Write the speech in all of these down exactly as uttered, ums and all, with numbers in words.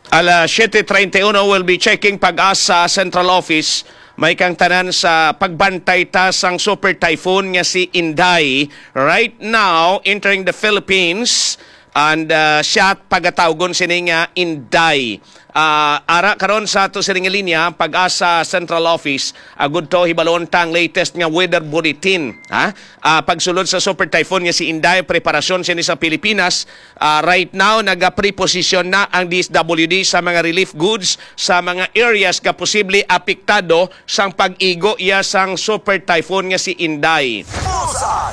Alas siete treinta y uno, we'll be checking PAGASA Central Office. May kang tanan sa pagbantay ta sang super typhoon nga si Inday. Right now, entering the Philippines. And uh, siya pagatawgon sini nga Inday. Ah, ara karon sa ato sini nga linya, PAGASA Central Office, agud to hibalon ta ang latest nga weather bulletin. Ha? Ah, pagsulod sa super typhoon nga si Inday, preparasyon sini sa Pilipinas. Ah, right now, nagapreposisyon na ang D S W D sa mga relief goods sa mga areas nga posible apektado sang pag-igo iya sang super typhoon nga si Inday.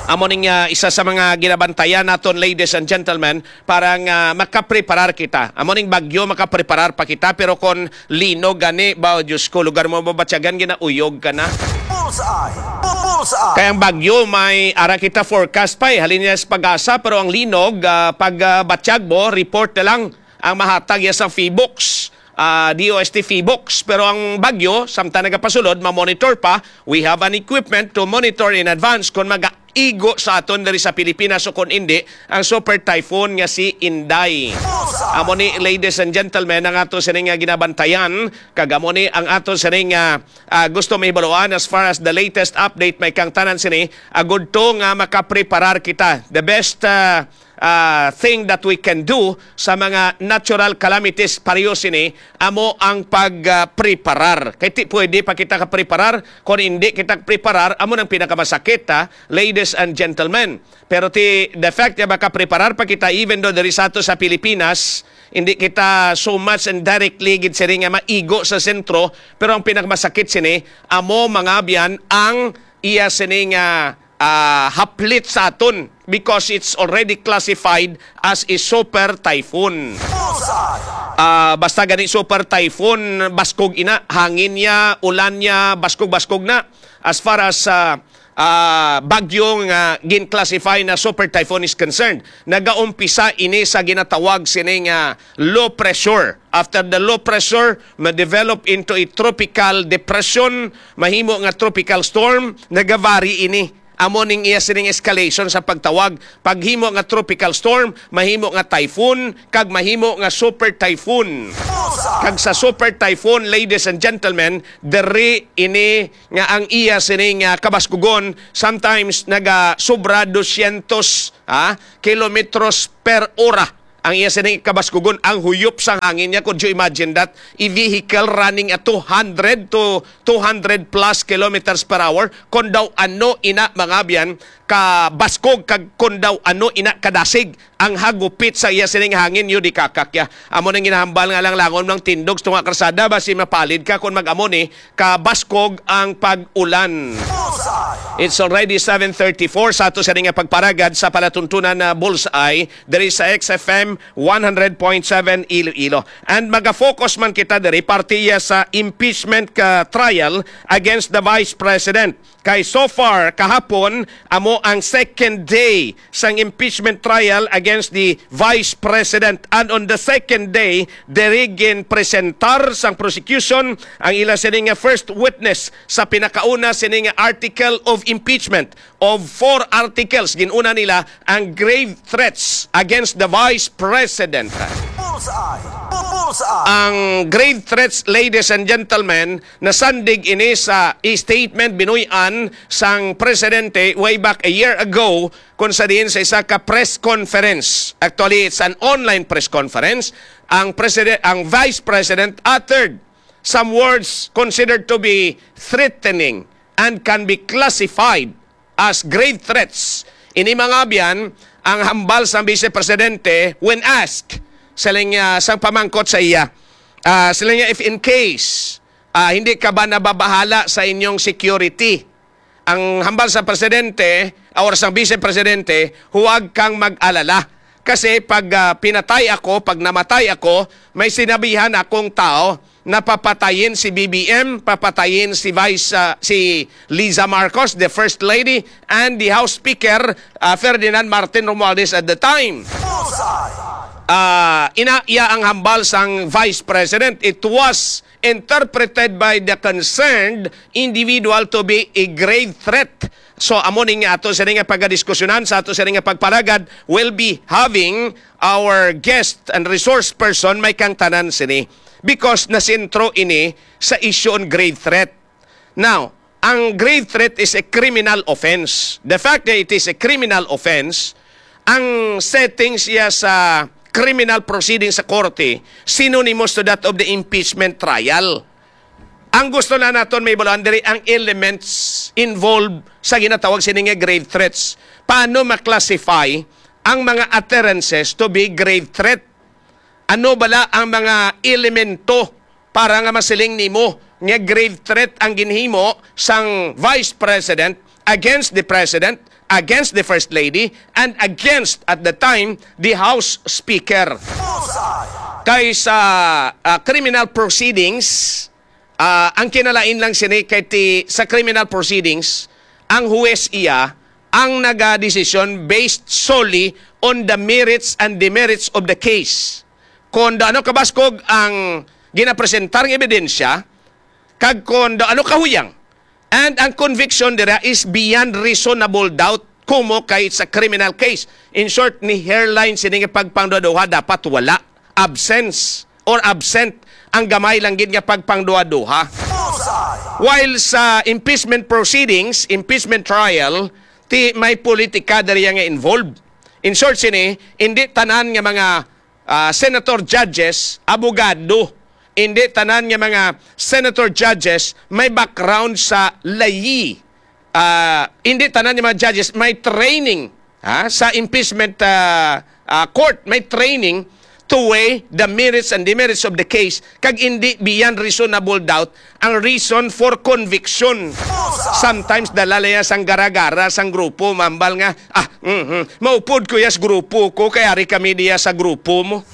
Amo ning, ah, isa sa mga ginabantayan naton, ladies and gentlemen, para nga makapreparar kita. Amo ning bagyo, makapreparar pa kita, pero kon linog gani ba, Diyos ko, lugar mo mabatyagan, ginauyog ka na. Bullseye! Bu- Bullseye! Kaya ang bagyo, may ara kita forecast pa eh. Halin niya sa PAGASA, pero ang linog, ah, pag, ah, batyag mo, report na lang ang mahatag ya sa PHIVOLCS, ah, D O S T PHIVOLCS. Pero ang bagyo, samtang nagapasulod, ma-monitor pa. We have an equipment to monitor in advance kung mag-igo sa aton diri sa Pilipinas o kung hindi, ang super typhoon nga si Inday. Amo ni, ladies and gentlemen, ang ato sini nga ginabantayan, kag amo ni ang ato sini nga, ah, gusto mahibaluan as far as the latest update may kang tanan sini, agud to nga makapreparar kita. The best, ah, ah, thing that we can do sa mga natural calamities, pareho sini, amo ang pag, ah, preparar. Kay ti pwede pa kita kapreparar, kung hindi kita preparar, amo nang pinakamasakit, ha, ladies and gentlemen. Pero ti, the fact nga makapreparar pa kita, even though diri sa ato sa Pilipinas, hindi kita so much and directly gid sini nga maigo sa sentro, pero ang pinakamasakit sini, amo, mga abyan, ang iya sini nga, ah, haplit sa aton because it's already classified as a super typhoon. Ah, basta gani super typhoon, baskog ina, hangin niya, ulan niya, baskog-baskog na. As far as, ah, ah, bagyo nga gin-classify na super typhoon is concerned, nagaumpisa ini sa ginatawag sini nga low pressure. After the low pressure, ma-develop into a tropical depression, mahimo nga tropical storm, nagavary ini. Amo ning iya sining escalation sa pagtawag. Paghimo nga tropical storm, mahimo nga typhoon, kag mahimo nga super typhoon. Kag sa super typhoon, ladies and gentlemen, diri ini nga ang iya sining, ah, kabaskugon, sometimes nagasubra dosyentos, ah, kilometros per ora. Ang iya sining kabaskugon, ang huyop sang hangin niya. Could you imagine that? A vehicle running at two hundred to two hundred plus kilometers per hour, kon daw ano ina, mga abyan, kabaskog, kag kon daw ano ina kadasig ang hagupit sa iya sining hangin, yo di kakakya. Amo nang ginahambal nga lang langon ng tindog sa tunga karsada, basi mapalid ka kon mag-amo ni kabaskog ang pag-ulan. It's already seven thirty-four sa ato sa nga pagparagad sa palatuntunan na Bullseye diri sa X F M one hundred point seven Iloilo. And maga-focus man kita diri parte iya sa impeachment ka trial against the Vice President. Kay so far, kahapon, amo ang second day sang impeachment trial against the Vice President. And on the second day, diri ginpresentar sang prosecution ang ila sini nga first witness sa pinakauna sini nga article of impeachment of four articles. Ginuna nila ang grave threats against the Vice President. Bullseye! Bu- Bullseye! Ang grave threats, ladies and gentlemen, nasandig ini sa statement binuy-an sang presidente way back a year ago, kung sa diin sa isa ka press conference. Actually, it's an online press conference. Ang president, ang vice president uttered some words considered to be threatening and can be classified as grave threats. Ini, mga abyan, ang hambal sa Vice Presidente when asked, siling, ah, sang pamangkot sa iya. Ah, siling niya, "If in case, ah, hindi ka ba nababahala sa inyong security?" Ang hambal sa presidente or sa vice presidente, "Huwag kang mag-alala. Kasi pag, ah, pinatay ako, pag namatay ako, may sinabihan akong tao na papatayin si B B M, papatayin si Vice, ah, si Liza Marcos, the First Lady, and the House Speaker, ah, Ferdinand Martin Romualdez at the time." Ah, ina iya ang hambal sang Vice President. It was interpreted by the concerned individual to be a grave threat So, amo ni nga ato sini nga pagadiskusyonan sa ato sini nga pagpalagad, will be having our guest and resource person may kangtanan sini, because nasentro ini sa issue on grave threat. Now, ang grave threat is a criminal offense. The fact that it is a criminal offense, ang setting siya sa criminal proceeding sa korte, synonymous to that of the impeachment trial. Ang gusto na naton mahibaluan diri ang elements involved sa ginatawag sini nga grave threats. Paano ma-classify ang mga utterances to be grave threat? Ano bala ang mga elemento para nga masiling nimo nga grave threat ang ginhimo sang Vice President against the President, against the First Lady, and against, at the time, the House Speaker? Kay sa, ah, criminal proceedings, ah, ang kinalain lang sini kay ti, sa criminal proceedings, ang huwes iya ang nagadesisyon based solely on the merits and demerits of the case. Kon daw ano kabaskog ang ginapresentar nga ebidensya, kag kon daw ano kahuyang. And ang conviction dira is beyond reasonable doubt, kumo kay sa criminal case. In short, ni hairline sini nga pagpangduha-duha dapat wala. Absence or absent ang gamay lang gid nga pagpangduha-duha. While sa impeachment proceedings, impeachment trial, ti may politika diri nga involved. In short sini, hindi tanan nga mga, ah, senator judges, abogado. Hindi tanan nga mga senator judges may background sa layi. Ah, hindi tanan nga mga judges may training, ha, sa impeachment, ah, ah, court, may training to weigh the merits and demerits of the case, kag hindi beyond reasonable doubt ang reason for conviction. Sometimes dala niya sang gara-gara sang grupo, mambal nga, "Ah, mhm, maupod ko yas grupo ko, kay ari kami diya sa grupo mo."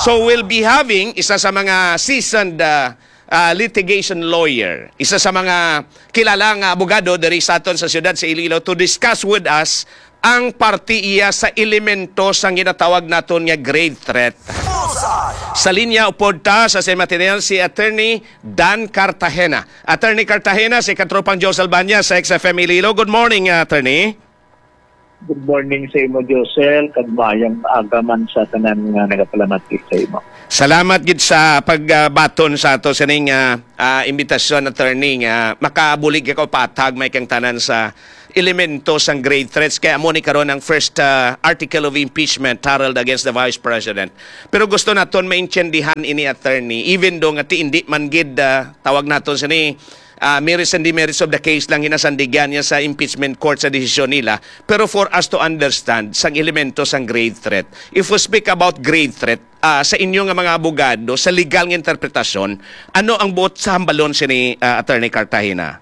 So we'll be having isa sa mga seasoned, ah, ah, litigation lawyer, isa sa mga kilala nga abogado diri sa aton sa siyudad sa Iloilo, to discuss with us ang parte iya sa elemento sang ginatawag naton nga grave threat. Sa linya upod ta sa San Mateo si Attorney Dan Cartagena. Attorney Cartagena, si Katropang Josel Banya sa X F M Iloilo. Good morning, Attorney. Good morning sa imo, Josel, kag maayong aga man sa tanan nga nagapalamati sa imo. Salamat gid sa pagbaton sa ato sining, ah, ah, imbitasyon, attorney, nga makabulig ka patag may kang tanan sa elemento sang grave threats. Kaya amo ni karon ang first, ah, article of impeachment filed against the Vice President. Pero gusto naton maintindihan ini, attorney, even though nga ti hindi man gid, ah, tawag naton sini, ah, merits and demerits of the case lang ginasandigan niya sa impeachment court sa desisyon nila. Pero for us to understand sang elemento sang grave threat, if we speak about grave threat, ah, sa inyo nga mga abogado, sa legal nga interpretasyon, ano ang buot sa hambalon sini, ah, Attorney Cartagena?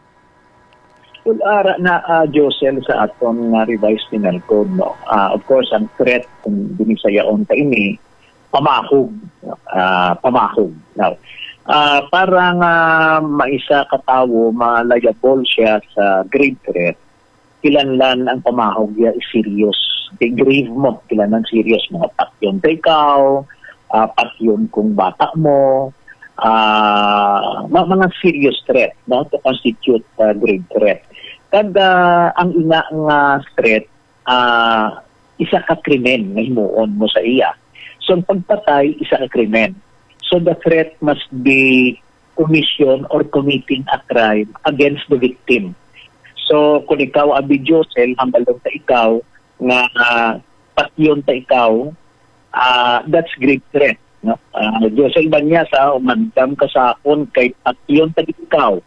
Well, ara na, ah, Josel, sa aton nga revised penal code, no? Ah, of course, ang threat, kung binisayaon pa ini, pamahog, ah, pamahog. Now, ah, para nga maisa ka tawo ma-liable siya sa grave threat, kinahanglan ang pamahog niya is serious. Kay grave mo, kinahanglan serious, mga patyon kay ikaw, ah, patyon kung bata mo, ah, ma-, mga serious threat, no, to constitute, ah, grave threat. Kag, ah, ang ina nga threat, ah, isa ka krimen nga himuon mo sa iya. So, ang pagpatay, isa ka krimen. So, the threat must be commission or committing a crime against the victim. So, kung ikaw, Abi Josel, hambalon ta ikaw nga, ah, patyon ta ikaw, ah, that's grave threat, no? Ah, Josel Banyas, ah, umandam ka sa akon kay patyon ta ikaw.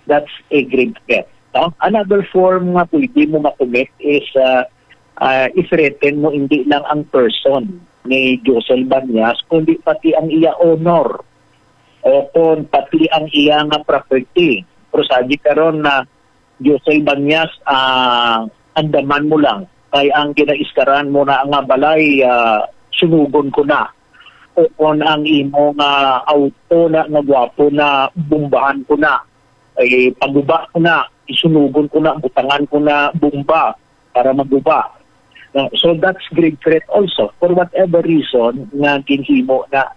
That's a grave threat, no? Another form nga pwede mo ma-commit is, ah, ah, i-threaten mo hindi lang ang person ni Josel Banyas, kundi pati ang iya honor o kon pati ang iya nga property. Pero sa di karon na Josel Banyas, ah, andaman mo lang. Kay ang ginaiskaran mo na nga balay, ah, sunugon ko na. O kon ang imo nga auto na nga gwapo na, bombahan ko na. Ay, paguba ko na, isunugon ko na, butangan ko na bomba para maguba. No? So that's grave threat also. For whatever reason nga ginhimo na,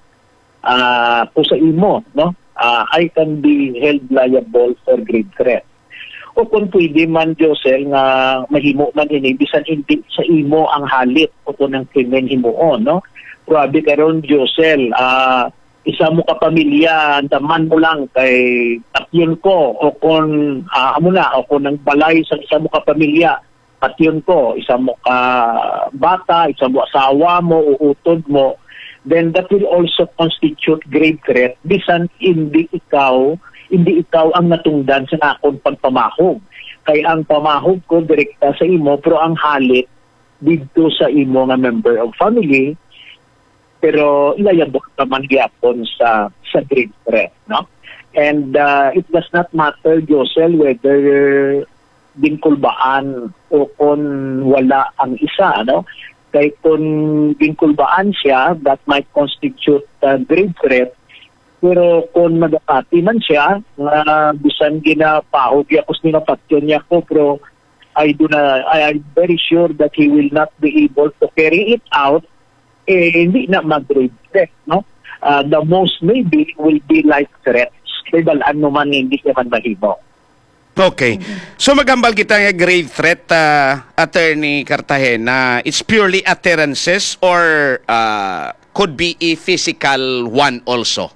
ah, ko sa imo, no? Ah, I can be held liable for grave threat. O kung pwede man, Josel, nga mahimo man ini, bisan hindi sa imo ang halit o kung ang krimen himuon, no? Grabe karon, Josel, ah, isa mo ka pamilya, andaman mo lang kay patyon ko, o kung, ah, amo na, o kung ang balay sa isa mo ka pamilya, patyon ko, isa mo ka bata, isa mo asawa mo, uutod mo, then that will also constitute grave threat, bisan hindi ikaw, hindi ikaw ang natungdan sa akon pagpamahog. Kay ang pamahog ko direkta sa imo, pero ang halit didto sa imo nga member of family, pero liable ka man gyapon sa, sa grave threat, no? And, uh, it does not matter, Josel, whether ginkulbaan o kon wala ang isa, no? Kay kon ginkulbaan siya, that might constitute, uh, grave threat. Pero kon nagapati man siya, nga bisan ginapahog niya, kus nila patyon niya ko, pero I do na, I am very sure that he will not be able to carry it out, eh, hindi na mag-grave threat, no? Ah, the most maybe will be life threats. Kay balaan mo man, hindi siya man mahimo. Okay. So, maghambal kita nga grave threat, ah, Attorney Cartagena, it's purely utterances or, ah, could be a physical one also?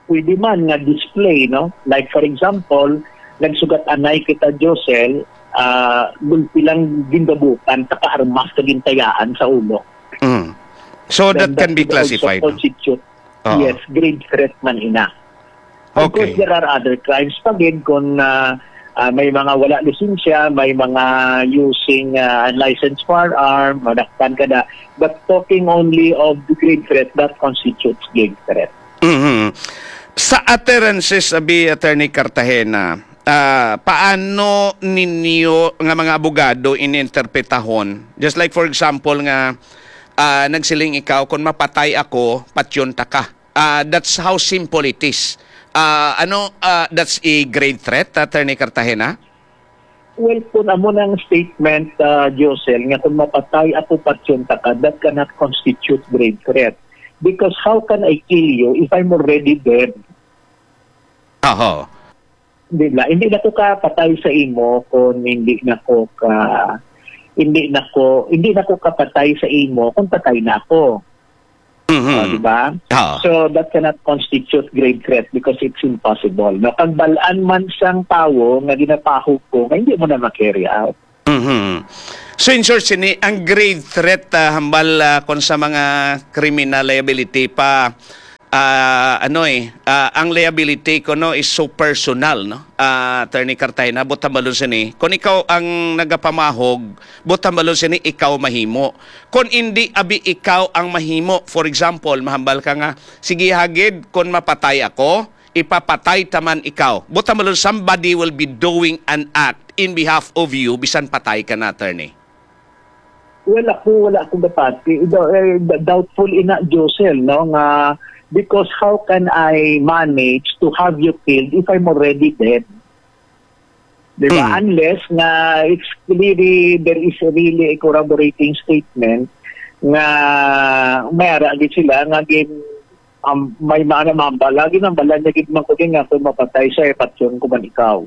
Pwede man nga display, no? Like, for example, nagsugat anay kita, Josel, ah, gulpi lang gindabutan, saka armas ka gintayaan sa ulo. Mm. So, Then that can be that could also classified, no? Constitute, Oo. Yes, grave threat man ina. Of course, Okay. there are other crimes pa gid kung, ah, ah, may mga wala lisensya, may mga using, ah, unlicensed firearm, madakpan ka na. But talking only of the grave threat, that constitutes grave threat. Mhm. Sa utterances, abi, Attorney Cartagena, ah, paano ninyo nga mga abogado ininterpretahon? Just like, for example, nga, ah, nagsiling ikaw, "Kung mapatay ako, patyon ta ka." Ah, that's how simple it is. Ah, ano, ah, that's a grave threat, Attorney Cartagena? Well, kung amo nang statement, ah, Josel, nga kung mapatay ako, patyon ta ka, that cannot constitute grave threat. Because how can I kill you if I'm already dead? Aho. Di ba? Hindi na ko kapatay sa imo kung hindi na ko ka, hindi na ko, hindi na ko kapatay sa imo kung patay na ako. Mhm. Oh, di ba? Oo. So, that cannot constitute grave threat because it's impossible. No? Kag balaan man sang tawo nga ginapahog ko, nga hindi mo na ma-carry out. Mhm. So, in short, sini, ang grave threat, ah, hambal, ah, kung sa mga criminal liability pa, ah, ano eh, ah, ang liability ko, no, is so personal, no? Ah, Attorney Cartagena, buot hambalon sini. Kung ikaw ang nagapamahog, buot hambalon sini, ikaw mahimo. Kung hindi, abi, ikaw ang mahimo. For example, mahambal ka nga, "Sige, hagid, kung mapatay ako, ipapatay ta man ikaw." Buot hambalon, somebody will be doing an act in behalf of you, bisan patay ka na, Attorney. Well, ako, wala akong dapati. Do-, eh, d-, doubtful ina, Josel, no, nga, because how can I manage to have you killed if I'm already dead? Di ba? Hmm. Unless nga it's clearly, there is really a corroborating statement nga may ara gid sila nga gin-, um, may mga namambala, ginambala niya gid man ko din nga kung mapatay siya, eh, patyon ko man ikaw.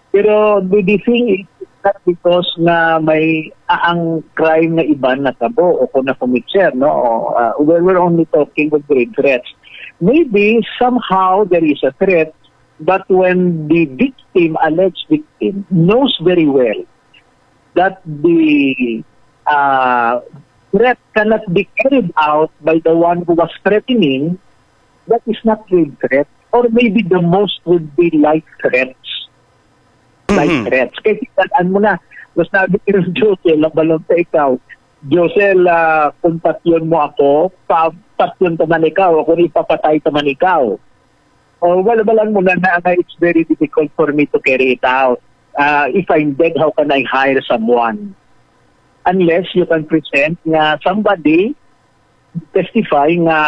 Pero the, the thing is, it's not because nga may, ah, ang crime nga iban natabo o kung na-commit siya, no? O, ah, we're, we're only talking of grave threats. Maybe somehow there is a threat, but when the victim, alleged victim, knows very well that the, ah, threat cannot be carried out by the one who was threatening, that is not grave threat. Or maybe the most would be life threats. Life Mhm. threats. Kay tingnan mo na, mas nabi ni Josel, ang balon sa ikaw, "Josel, ah, kung patyon mo ako, pa-, patyon ta man ikaw, o kung ipapatay ta man ikaw." O, wala, wala mo na, na, na it's very difficult for me to carry it out. Ah, if I'm dead, how can I hire someone? Unless you can present nga somebody testify nga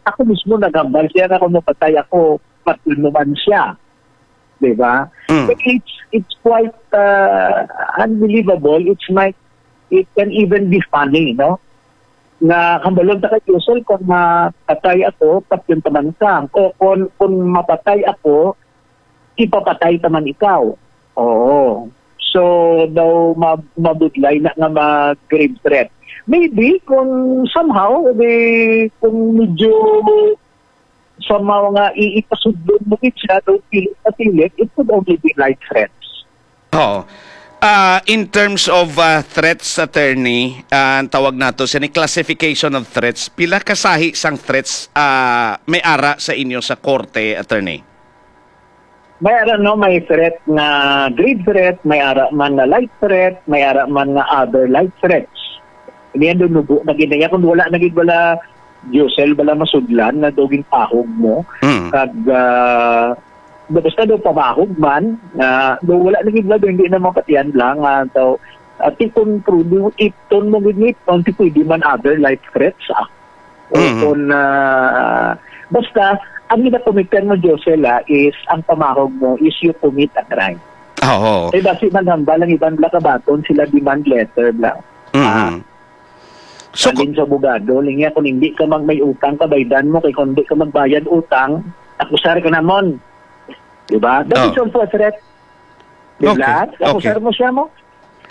ako mismo naghambal siya nga kung mapatay ako, patyon mo man siya. Di ba? Mm. So it's, it's quite, uh, unbelievable. It's like, it can even be funny, no? Nga hambalon ta kay Josel, kung mapatay ako, patyon ta man ka. O kung, kung mapatay ako, ipapatay ta man ikaw. Oo. So, daw ma-, mabudlay na nga mag-grave threat. Maybe, kung somehow, di, kung medyo somehow nga i-, ipasudlon mo gid siya, daw pilit na pilit, it could only be light threats. Oo. Ah, in terms of, ah, threats, attorney, ah, ang tawag nato sini classification of threats, pila ka sahi sang threats, ah, may ara sa inyo sa korte, attorney? May ara, no, may threat nga grave threat, may ara man nga light threat, may ara man nga other light threats. Niya, dunugo na gid niya kung wala na gid bala, Josel, bala masudlan na daw ginpahog mo. Mm. Kag, ah, basta daw pamahog man, nga daw wala na gid bala, daw hindi na mapatian lang, ah, daw, ah, ti kung prudu, ipton mo gid ni, kung ti pwede man other light threats, ah. O Mhm. kung, ah, basta, ang ginakomitan mo, Josel, ah, is ang pamahog mo is you commit a crime. Oo. Kay basi maghambal ang iban bala kabaton sila demand letter bala. Mhm. Ah, So, Sabi sa abogado, niya, kung hindi ka mag-, may utang ka, baydan mo, kay kung hindi ka magbayad utang, akusar ka namon. Di ba? That Oh. is also a threat. Di Okay, ba? Akusar okay. mo siya mo.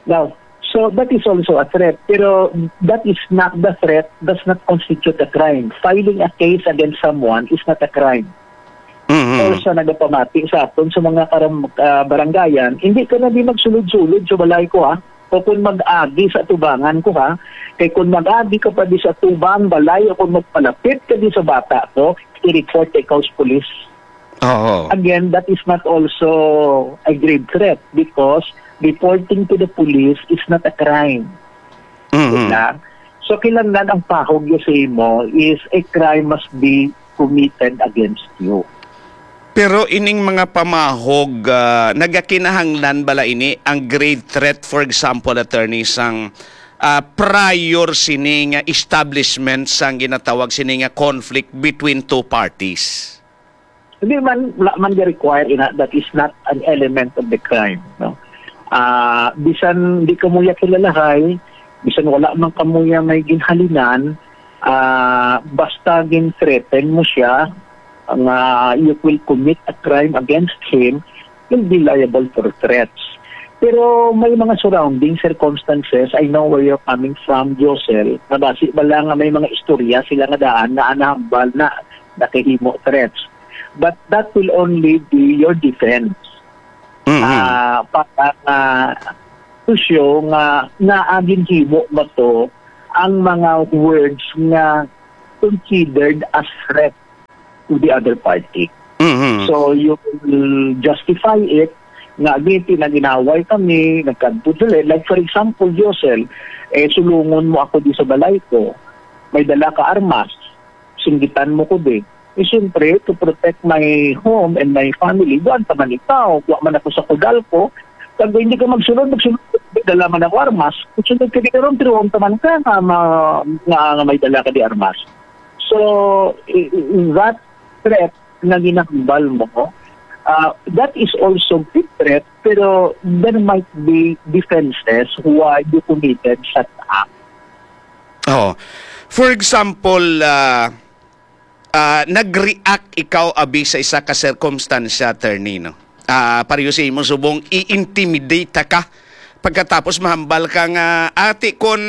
Now, so that is also a threat. Pero that is not, the threat does not constitute a crime. Filing a case against someone is not a crime. Mhm. Or sa nagapamati sa aton sa mga karam-, ah, barangayan, hindi ka na di magsulod-sulod sa balay ko, ha? O kung mag-agi sa atubangan ko, ha? Kay kung mag-agi ka pa di sa atubang balay o kung magpalapit ka di sa bata ko, i-report ka ikaw sa pulis. Oo. Again, that is not also a grave threat because reporting to the police is not a crime. Mhm. Diba? So, kinahanglan ang pahog niya sa imo is a crime must be committed against you. Pero ining mga pamahog, ah, nagakinahanglan bala ini ang grave threat, for example, attorney, sang, ah, prior sini nga establishment sang ginatawag sini nga conflict between two parties? Hindi man, wala man ga-require ina, that is not an element of the crime, no? Ah, bisan di kamo ya kilalahay, bisan wala man kamo ya may ginhalinan, ah, basta gin-threaten mo siya nga you will commit a crime against him, you'll be liable for threats. Pero may mga surrounding circumstances, I know where you're coming from, Josel, nga basi bala nga may mga istorya sila nga daan na nahambal na nakahimo threats. But that will only be your defense. Mhm. Ah, para nga to show nga naa ginhimo ba to ang mga words nga considered as threat to the other party. Mhm. So, you will justify it nga, "Abi, tinaginaway kami, nagkadto sila." Like, for example, Josel, eh, sulungon mo ako di sa balay ko. May dala ka armas, singgitan mo ko di. Eh, siyempre, to protect my home and my family, buwan ta man ikaw, wa man ako sa kudal ko. Pag hindi ka magsunod, magsunod, dala man ako armas. Kung sunod ka di karon, tiruon ta man ka nga, ma-, nga, nga may dala ka di armas. So, i-, i-, that threat na ginahambal mo, ah, that is also big threat, pero there might be defenses why you committed such act. Oh. For example, ah, ah, nag-react ikaw abi sa isa ka sirkumstansya, attorney, no? Ah, pareho sa imo subong, i-intimidate ka. Pagkatapos mahambal ka nga, "Ati, kun,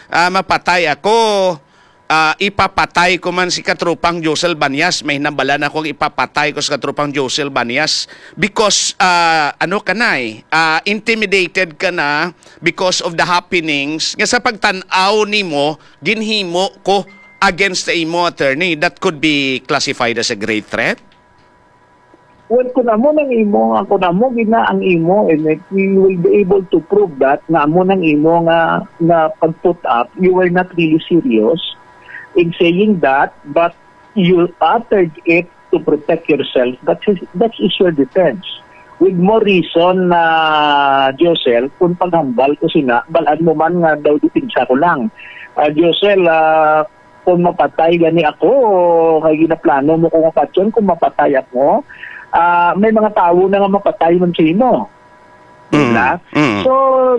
ah, mapatay ako, ah, ipapatay ko man si Katropang Josel Banyas. May hinambalan ako nga ipapatay ko si Katropang Josel Banyas." Because, ah, ano ka na eh, ah, intimidated ka na because of the happenings nga sa pagtan-aw nimo, ginhimo ko against sa imo, attorney, that could be classified as a grave threat? Well, kung amo nang imo, nga kung amo gina ang imo, and if you will be able to prove that, nga amo nang imo nga, nga pag-put up, you were not really serious in saying that, but you uttered it to protect yourself, that is, that is your defense. With more reason na, Josel, kung paghambal ko sina, balaan mo man nga daw depensa ko lang. Ah, Josel, ah, kung mapatay gani ako, kay ginaplano mo kung mapatyon, kung mapatay ako, ah, may mga tawo na nga mapatay man sa imo. Mm, Diba? mm. So,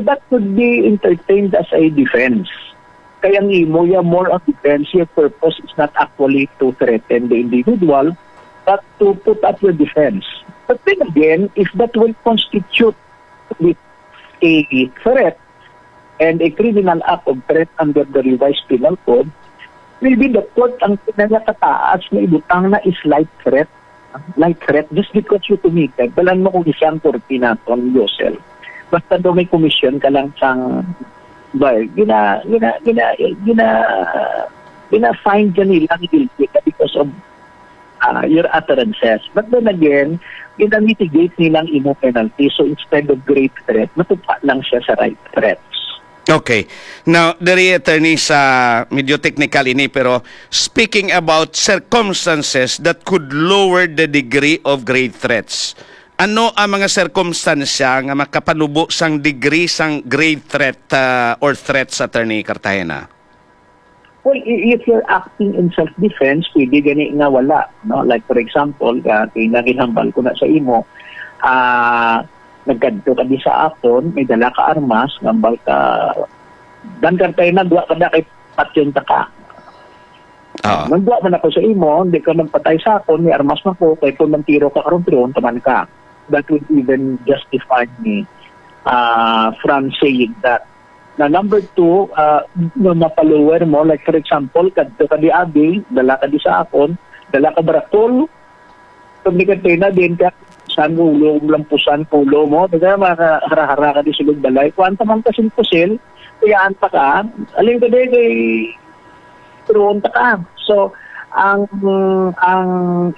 that could be entertained as a defense. Kaya ang imo, yeah, more of defense, your purpose is not actually to threaten the individual, but to put up your defense. But then again, if that will constitute with a threat and a criminal act of threat under the Revised Penal Code, maybe the court ang pinakataas na ibutang na is light threat. Light threat just because you committed. Balan mo kung isang korte naton, Josel. Basta daw may commission ka lang sang ba, gina, gina, gina, gina, gina-find ka nila guilty ka because of ah, your utterances. But then again, gina-mitigate nila ang imo penalty. So instead of grave threat, matupa lang siya sa light threats. Okay. Now, diri, attorney, sa medyo technical ini, pero speaking about circumstances that could lower the degree of grave threats, ano ang mga sirkumstansya nga makapanubo sang degree sang grave threat, ah, or threats, Attorney Cartagena? Well, i- if you're acting in self-defense, pwede gani nga wala. No? Like for example, uh, kay naginhambal ko na sa imo, ah nagkadto ka di sa akon, may dala ka armas, ngambal ka, dan kartay nagwa ka na kay patyon ta ka. Oo. Nagwa man ako sa imo, hindi ka magpatay sa akon, may armas na ko, kay kung magtiro ka karon, tiroon ka man ka. That would even justify me uh, from saying that. Na number two, uh, na mapalower mo, like for example, kadto ka di abi, dala ka di sa akon, dala ka barakol, pag ni Katrina, din ka, san ulo, lampusan, kulo mo, di ka, makahara-hara ka di sulod balay, kuan ta man ka sin pusil, kayaan ta ka, alin ka di kay turuon ta ka. So, ang ang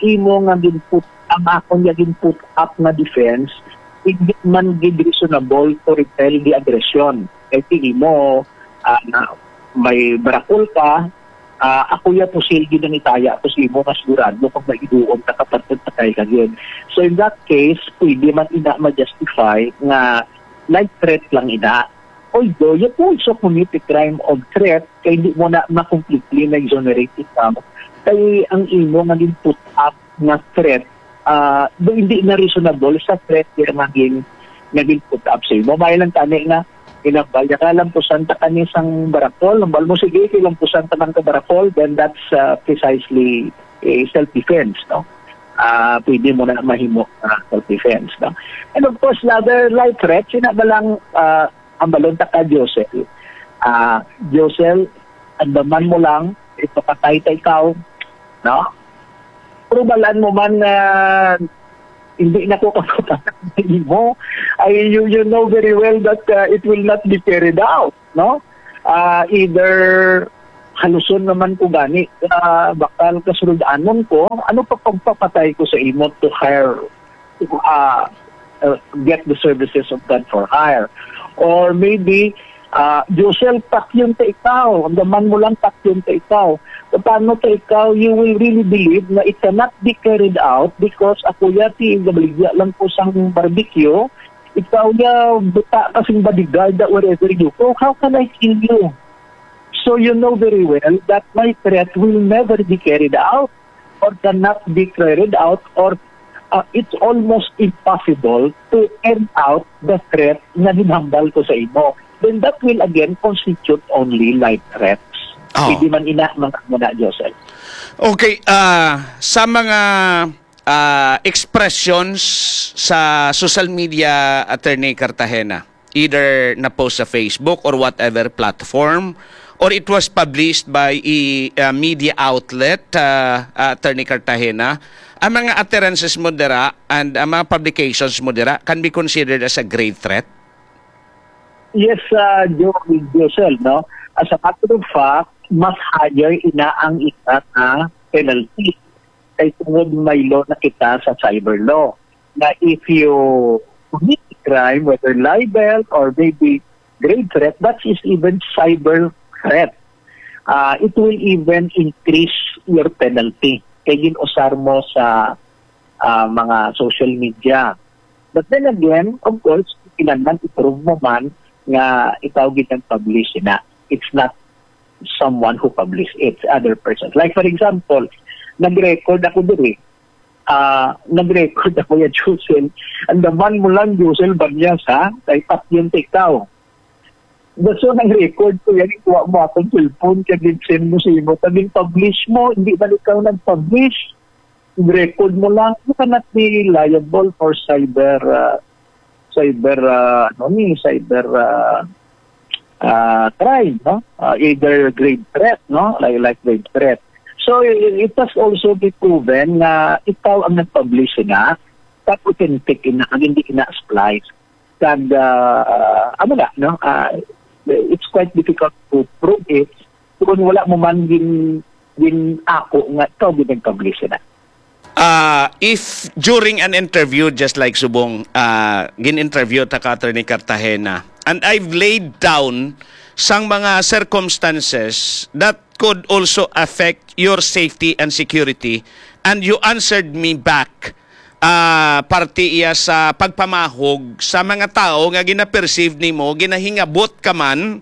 imo nga ginput ang akon nga ginput up nga defense, hindi man gid reasonable to repel the aggression. Kay tingin mo, ah, na may barakol ka, ah, ako ya pusil gid ang itaya ko sa imo nga sigurado kung maiduon ka kapatid patay ka gid. So in that case, pwede man ina ma-justify nga light threat lang ina. Although you also commit a crime of threat kay hindi mo na ma-completely na-exonerate ikaw kay ang imo nga gin-put up nga threat, ah, do hindi na reasonable sa threat nga gin nga gin-put up sa imo. May lang tani nga ginambal niya ka, lampusan ta kani sang barakol. Hambal mo, sige, kay lampusan ta man ka barakol, then that's uh, precisely a self-defense, no? Ah, pwede mo na mahimo uh, self-defense, no? And of course, the other life threats, sina ba lang uh, ang balon ta ka, Josel? Ah, Josel, andaman mo lang, ipapatay ta ikaw, no? Pero balaan mo man nga hindi na ko kapapatay mo. Ay, you, you know very well that uh, it will not be carried out, no? Uh, either haluson naman ko gani uh, bakal kasulod-anon ko, ano pa pagpapatay ko sa imo to hire uh, uh, get the services of God for hire. Or maybe, uh, Josel, patyon ta ikaw. Ang daman mo lang, patyon ta ikaw. Paano ta ikaw, you will really believe na it cannot be carried out because ako yati, gabaligya lang ko sang barbecue, ikaw ya, buta ka sing bodyguard that wherever you go. How can I kill you? So you know very well that my threat will never be carried out or cannot be carried out or uh, it's almost impossible to carry out the threat nga ginhambal ko sa imo. Then that will again constitute only life threats. Oh. Pwede man ina, mga muna, Joseph. Okay, ah, sa mga ah, expressions sa social media, Attorney Cartagena, either na-post sa Facebook or whatever platform, or it was published by a uh, media outlet, uh, Attorney Cartagena, ang mga utterances mo dira and ang mga publications mo dira can be considered as a grave threat? Yes, uh, Joel, no? As a matter of fact, mas higher ina ang ina na penalty kay tungod may law na kita sa cyber law na if you commit a crime, whether libel or maybe grave threat, that is even cyber threat. Uh, it will even increase your penalty kay gin-usar mo sa uh, mga social media. But then again, of course, kinahanglan i-prove mo man nga ikaw gid ang publish na. It's not someone who published it, other persons. Like for example, nag-record ako diri. Ah, nag-record ako ya Josel. Ang daman mo lang, Josel Banyas, ha? Kay patyon ta ikaw. Gusto nang record ko yan, kuha mo akong cellphone, kaya din send mo sa imo. Tabing publish mo, hindi ba ikaw nag-publish? record mo lang, you cannot be liable for cyber, ah, cyber, ah, ano ni, cyber, ah, ah, crime, no? Ah, either grave threat, no? Like, like grave threat. So, i-, it has also been proven nga ikaw ang nag-publish na, kag authentic ina, kag hindi ina splice. Kag, ah, amo na, no? Ah, it's quite difficult to prove it kung wala mo man gin-, gin-ako nga ikaw gid nag-publish na. Ah, if during an interview, just like subong, ah, gin-interview ta ka, Attorney Cartagena, and I've laid down sang mga circumstances that could also affect your safety and security, and you answered me back, ah, parte iya sa pagpamahog sa mga tawo nga gina-perceive nimo, ginahingabot ka man,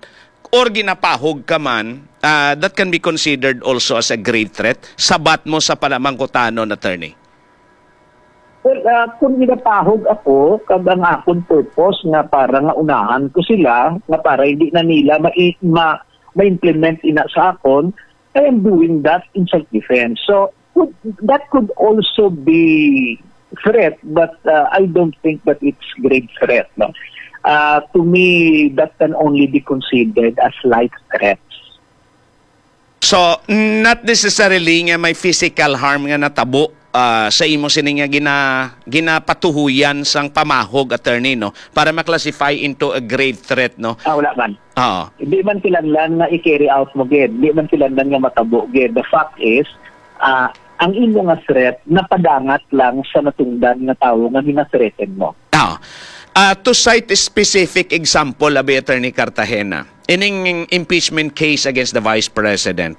or ginapahog ka man, ah, that can be considered also as a grave threat. Sabat mo sa panamangkutanon, attorney. Well, ah, kung ginapahog ako, kag ang akon purpose nga para nga unahan ko sila, nga para hindi na nila ma-, ma-, ma-implement ina sa akon, I am doing that in self-defense. So, could, that could also be threat, but, uh, I don't think that it's grave threat, no? Uh, to me, that can only be considered as light threats. So, not necessarily nga may physical harm nga natabo, ah, sa imo sini nga gina-, ginapatuhuyan sang pamahog, attorney, no, para ma-classify into a grave threat, no? Ah, wala man. Oo. Hindi man kinahanglan nga i-carry out mo gid, hindi man kinahanglan nga matabo gid. The fact is, ah, ang imo nga threat napadangat lang sa natungdan nga tawo nga gina-threaten mo. Ah, ah, to cite a specific example, abi, Attorney Cartagena, ining impeachment case against the Vice President.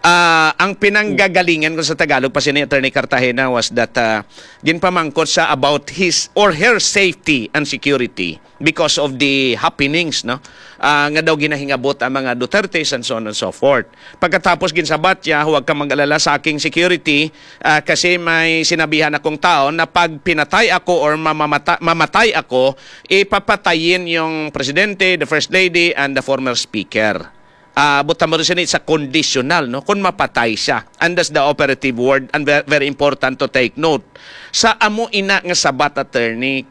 Ah, ang pinanggagalingan ko sa Tagalog pa sini, Attorney Cartagena, was that, ah, ginpamangkot siya about his or her safety and security because of the happenings, no? Ah, nga daw ginahingabot ang mga Dutertes and so on and so forth. Pagkatapos ginsabat niya, "Huwag ka mag-alala sa aking security, ah, kasi may sinabihan akong tao na pag pinatay ako or mamamata-, mamatay ako, ipapatayin yung presidente, the first lady, and the former speaker." Ah, buta mo rin sini sa conditional, no? Kung mapatay siya. And that's the operative word and ve-, very important to take note. Sa amo ina nga sabat, attorney,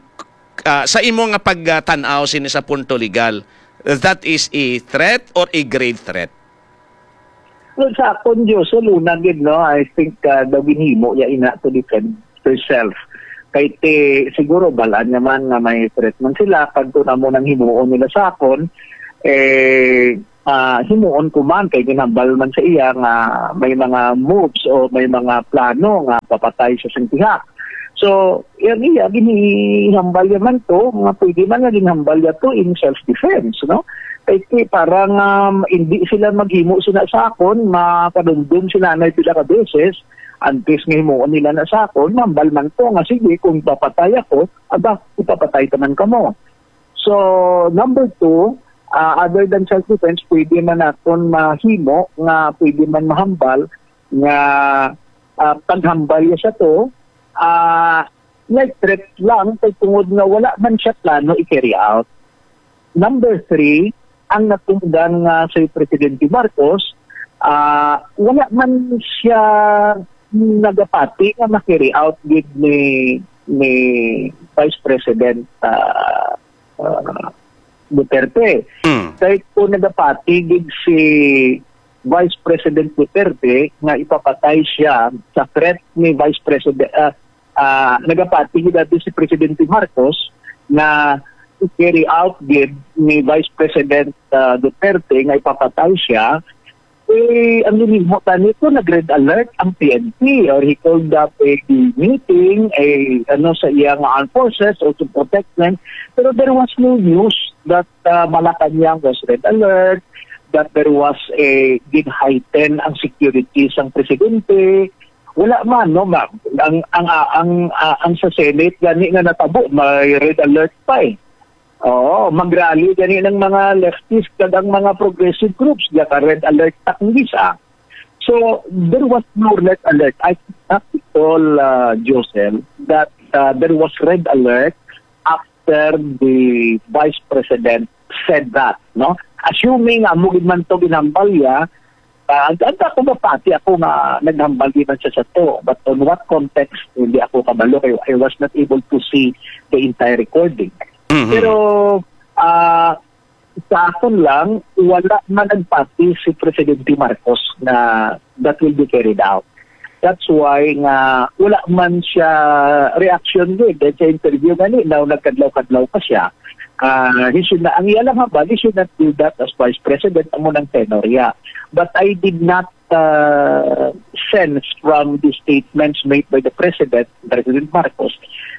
ah, sa imo nga pagtan-aw sini sa punto legal, that is a threat or a grave threat? Well, sa akon, Diyos, so, luna gid, no? I think, ah, daw ginhimo niya ina to defend herself. Kay ti, siguro, balaan niya man nga may threat man sila, kag kung amo nang himuon nila sa akon, eh, ah, himuon ko man, kay ginhambal man sa iya nga may mga moves o may mga plano nga papatay sa sing pihak. So, yan iya, ginihambal niya man to, nga pwede man nga ginhambal niya to in self-defense, no? Kay ti, parang, um, hindi sila maghimo sina sa akon, makadumdum si nanay pila ka beses, antes nga himuon nila na sa akon, hambal man to nga, "Sige, kung papatay ako, aba, ipapatay ta man kamo." So, number two, ah, other than self-defense, pwede man naton mahimo nga pwede man mahambal nga, ah, paghambal niya sa to, ah, like threat lang, kay tungod nga wala man siya plano i-carry out. Number three, ang natungdan nga si Presidente Marcos, ah, wala man siya nagapati nga ma-carry out gid ni, ni Vice President, ah, ah, Duterte. Mm. Kay kung nagapati gid si Vice President Duterte nga ipapatay siya sa threat ni Vice President, ah, ah, nagapati gid dati si Presidente Marcos nga i-carry out gid ni Vice President, ah, Duterte nga ipapatay siya, eh, ang ginhimo tani ko, nag-red alert ang P N P, or he called up a meeting, a, ano, sa iya nga armed forces or to protect them. Pero there was no news that, ah, Malacañang was red alert, that there was a gid heighten ang security sang presidente. Wala man, no, ma-, ang, ang, ah, ang, ah, ang sa Senate gani nga natabo, may red alert pa, eh. Oo, mag-rally gani ng mga leftist kag ang mga progressive groups, naka-red alert ta kung gisa. So, there was no red alert. I cannot recall, uh, Josel, that, uh, there was red alert after the Vice President said that, no? Assuming amo gid man to ginhambal niya, Ah, ang, ang ako mapati ako nga naghambal di man siya sa to. But on what context, hindi ako kabalo kay I was not able to see the entire recording. Mhm. Pero ah, sa akon lang, wala man nagpati si Presidente Marcos na that will be carried out. That's why nga wala man siya reaction gid. Dahil sa interview gani, now nagkadlaw-kadlaw pa siya. Ah, he should na, ang iya lang hambal, he should not do that as vice president, amo nang tenor iya. But I did not uh, sense from the statements made by the president, President Marcos,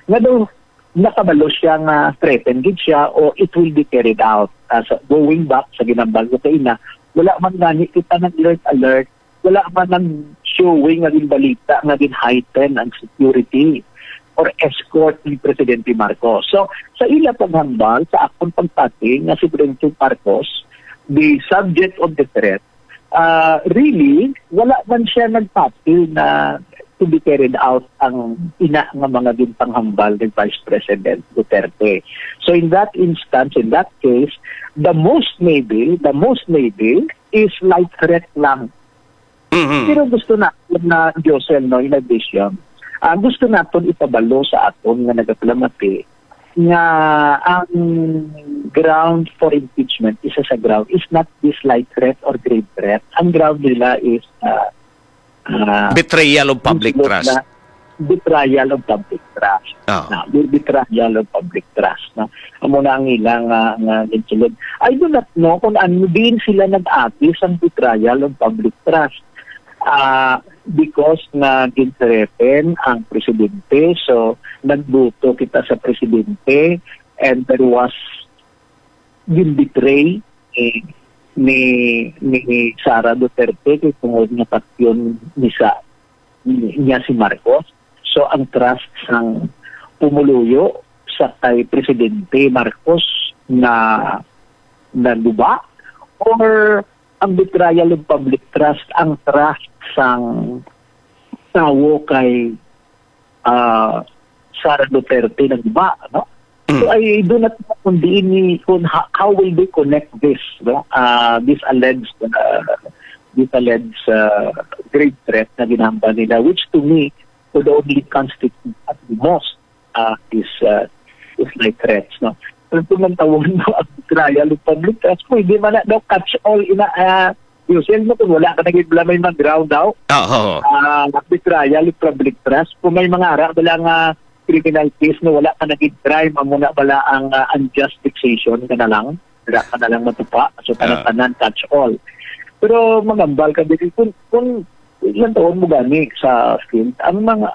nga daw nakabalo siya nga threaten gid siya o it will be carried out. As going back sa ginambal ko kaina, wala man gani kita nag-alert-alert, wala man nang showing nga ginbalita nga gin-heighten ang security or escort ni Presidente Marcos. So, sa ila paghambal, sa akon pagpati nga si Presidente Marcos, the subject of the threat, ah, really, wala man siya nagpati na to be carried out ang ina nga mga ginpanghambal ni Vice President Duterte. So in that instance, in that case, the most maybe, the most maybe is light threat lang. Mhm. Pero gusto na na Josel, no, in addition, ah, gusto naton ipabalo sa aton nga nagapalamati nga ang ground for impeachment, isa sa ground, is not this light threat or grave threat. Ang ground nila is ah, ah, Betrayal of public sulod trust. na betrayal of public trust. Ah. Na, be- betrayal of public trust. No? Amo na ang ilang nga, nga ginsulod. I do not know kung ano din sila nag-agi sang betrayal of public trust. Ah, because nga gin-threaten ang presidente, so nagbuto kita sa presidente, and there was gin-betray ni, ni, ni Sara Duterte kay tungod nga patyon ni sa niya si Marcos. So ang trust sang pumuluyo sa kay Presidente Marcos na naguba, or ang betrayal of public trust, ang trust sang tawo kay ah, Sara Duterte naguba, no? So Mm. I do not know kung diin ni kung ha- how will they connect this, no? Uh, this alleged uh, this alleged uh, grave threat na ginahambal nila, which to me would only constitute at the most uh, is uh, is like threats, no? Pero kung ang tawag mo ang trial of public trust, pwede man na daw catch all ina uh, Yusel mo kung wala ka naging may mga ground daw. Oo. Ah, betrayal of public trust. Kung may mga ara bala nga criminal case na wala ka naging crime, amo na bala ang ah, unjust vexation ka na lang. Wala ka na lang matupa. So, Ah. tanan-tanan, catch all. Pero magambal ka din, kung, kung ilang taon mo gani sa field, ang mga,